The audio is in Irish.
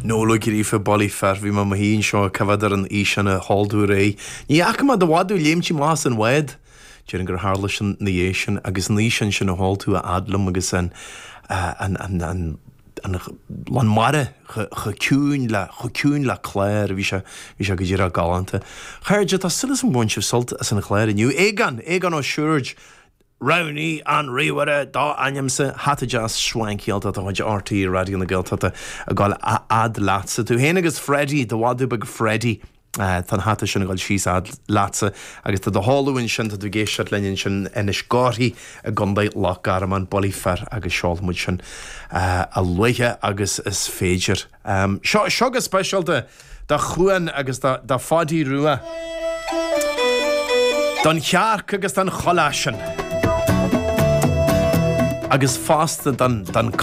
Noel Ó Gríofa, Bullaí fear, bhí mé i mo shuí anseo ag coimhéad ar an fhíseán a sheol tú aréir. Ní fhaca mé do mhadadh léimtí amach as an bhád. Déarfainn gur tharla sin ina dhiaidh sin agus an fhíseán sin a sheol tú a fhad liom agus an an an an an lán mara chomh ciúin le chomh ciúin le clár bhí sé bhí sé go díreach galánta. Chairde, tá súil agam gur bhain sibh sult as an chlár inniu. Aogán! Aogán Ó Siúird! Roghnaigh an ríomhaire dá ainmse, hata deas swanky-áilte de chuid RTÉ Raidió na Gaeltachta ag dul a fhad leatsa. Tú féin agus Freddie, do mhadadh beag Freddie, tá an hata sin ag dul síos a fhad leatsa agus tá do sheoladh ansin, tá tú ag éisteacht linn ansin in Inis Córthaidh i gContae Loch Garman, Bullaí Fir agus seolfaidh muid sin a luaithe agus is féidir. Seo, seo go speisialta do Chuan agus do Pháidí Rua, don chearc agus don choláisean agus fosta don.